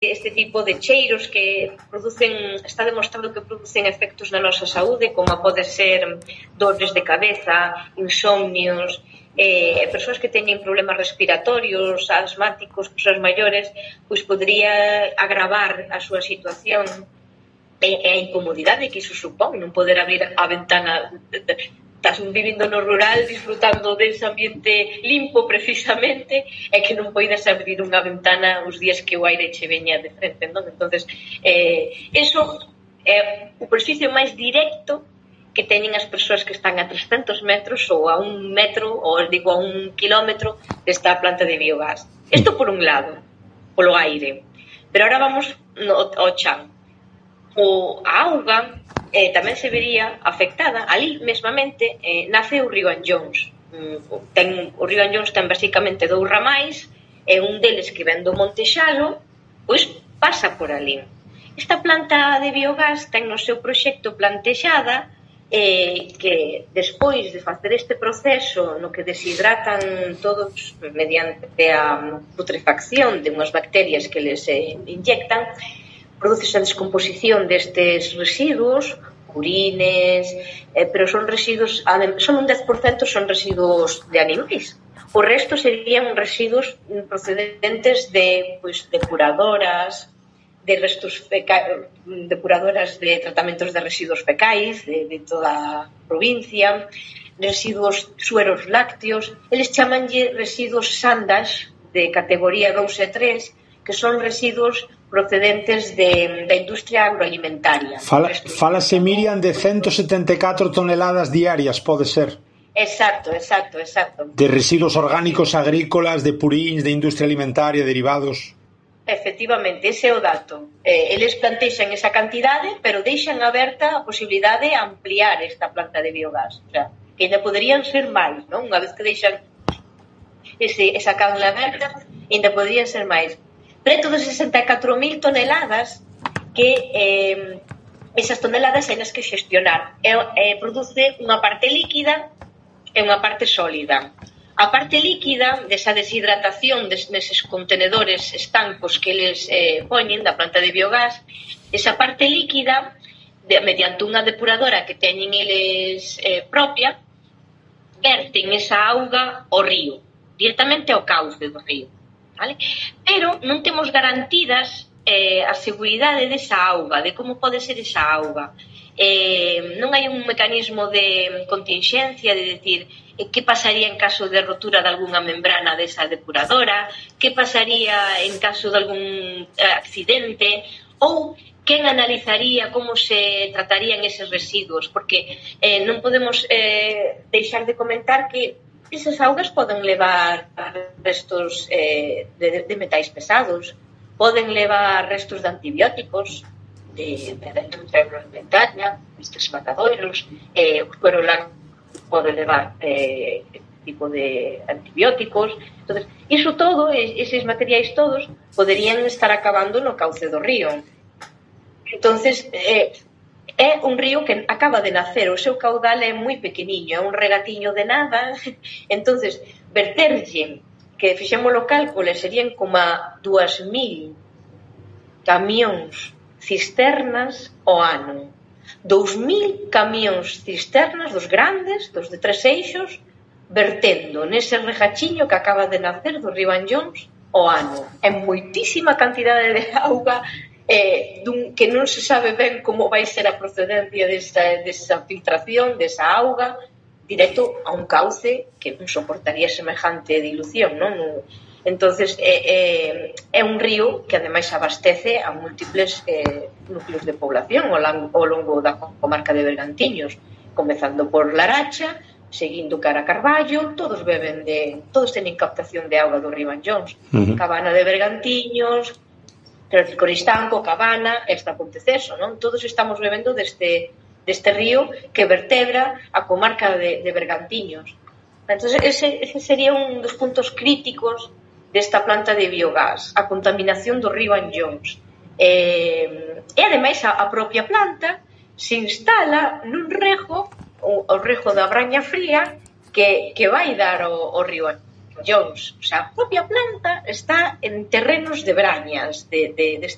este tipo de cheiros que producen, está demostrado que producen efectos na nosa saúde, como pode ser dores de cabeza, insomnios, persoas que teñen problemas respiratorios, asmáticos, persoas maiores, pois podría agravar a súa situación e a incomodidade que iso supón, non poder abrir a ventana. Estás vivindo no rural, disfrutando dese ambiente limpo precisamente, e que non poidas abrir unha ventana os días que o aire che veña de frente, non? Entonces, eso é o perjuízo máis directo que teñen as persoas que están a 300 metros ou a 1 metro, ou digo a 1 kilómetro desta planta de biogás. Isto por un lado, polo aire. Pero ahora vamos ao chan. A auga tamén se vería afectada. Ali mesmamente nace o río Anllóns. O río Anllóns ten basicamente 2 ramais, e un deles que ven do Monte Xalo, pois pasa por ali. Esta planta de biogás ten no seu proxecto plantexada que despois de facer este proceso no que deshidratan todos mediante a putrefacción de unhas bacterias que les inyectan, produce a descomposición destes residuos, purines, pero son residuos, son un 10% son residuos de animais. O resto serían residuos procedentes de depuradoras, de restos depuradoras de tratamentos de residuos fecais de toda a provincia, residuos sueros lácteos. Eles chamanlle residuos SANDAX de categoría 2 e 3, que son residuos procedentes da industria agroalimentaria. Fálase, Miriam, de 174 toneladas diarias, pode ser? Exacto. De residuos orgánicos agrícolas, de purins, de industria alimentaria, derivados. Efectivamente, ese é o dato. Eles plantexan esa cantidade, pero deixan aberta a posibilidade de ampliar esta planta de biogás. O sea, que ainda poderían ser máis, non? Unha vez que deixan esa canla aberta, ainda poderían ser máis. Preto de 64.000 toneladas que esas toneladas hai nas que xestionar. Produce unha parte líquida e unha parte sólida. A parte líquida desa deshidratación neses contenedores estancos que eles poñen da planta de biogás, esa parte líquida, mediante unha depuradora que teñen eles propia, verten esa auga ao río, directamente ao cauce do río. Vale? Pero non temos garantidas a seguridade desa auga, de como pode ser esa auga. Non hai un mecanismo de contingencia, de decir que pasaría en caso de rotura de algunha membrana desa depuradora, que pasaría en caso de algún accidente, ou quen analizaría como se tratarían eses residuos, porque non podemos deixar de comentar que esas augas poden levar restos de metais pesados, poden levar restos de antibióticos de industria agroalimentaria, estes matadoiros, o suero lácteo pode levar tipo de antibióticos. Entonces, iso todo, eses materiais todos, poderían estar acabando no cauce do río. Entonces, é un río que acaba de nacer, o seu caudal é moi pequeniño, é un regatiño de nada. Entonces, verterlle, que fixemos o cálculo, serían como 2.000 camións cisternas ao ano. 2.000 camións cisternas dos grandes, dos de 3 eixos, vertendo nese regachiño que acaba de nacer do río Anllóns ao ano. É moitísima cantidade de auga, que non se sabe ben como vai ser a procedencia desa filtración, desa auga, directo a un cauce que non soportaría semejante dilución, non? Entonces, é un río que ademais abastece a múltiples núcleos de población ao longo da comarca de Bergantiños, comezando por Laracha, seguindo cara a Carballo, todos teñen captación de auga do río Anllóns. Cabana de Bergantiños, Coristanco, Cabana, esta Ponteceso, non? Todos estamos bebendo deste río que vertebra a comarca de Bergantiños. Entón, ese sería un dos puntos críticos desta planta de biogás, a contaminación do río Anllóns. E, ademais, a propia planta se instala nun rego, o rego da Braña Fría, que vai dar ao río Anllóns. collóns. O sea, a propia planta está en terrenos de brañas, de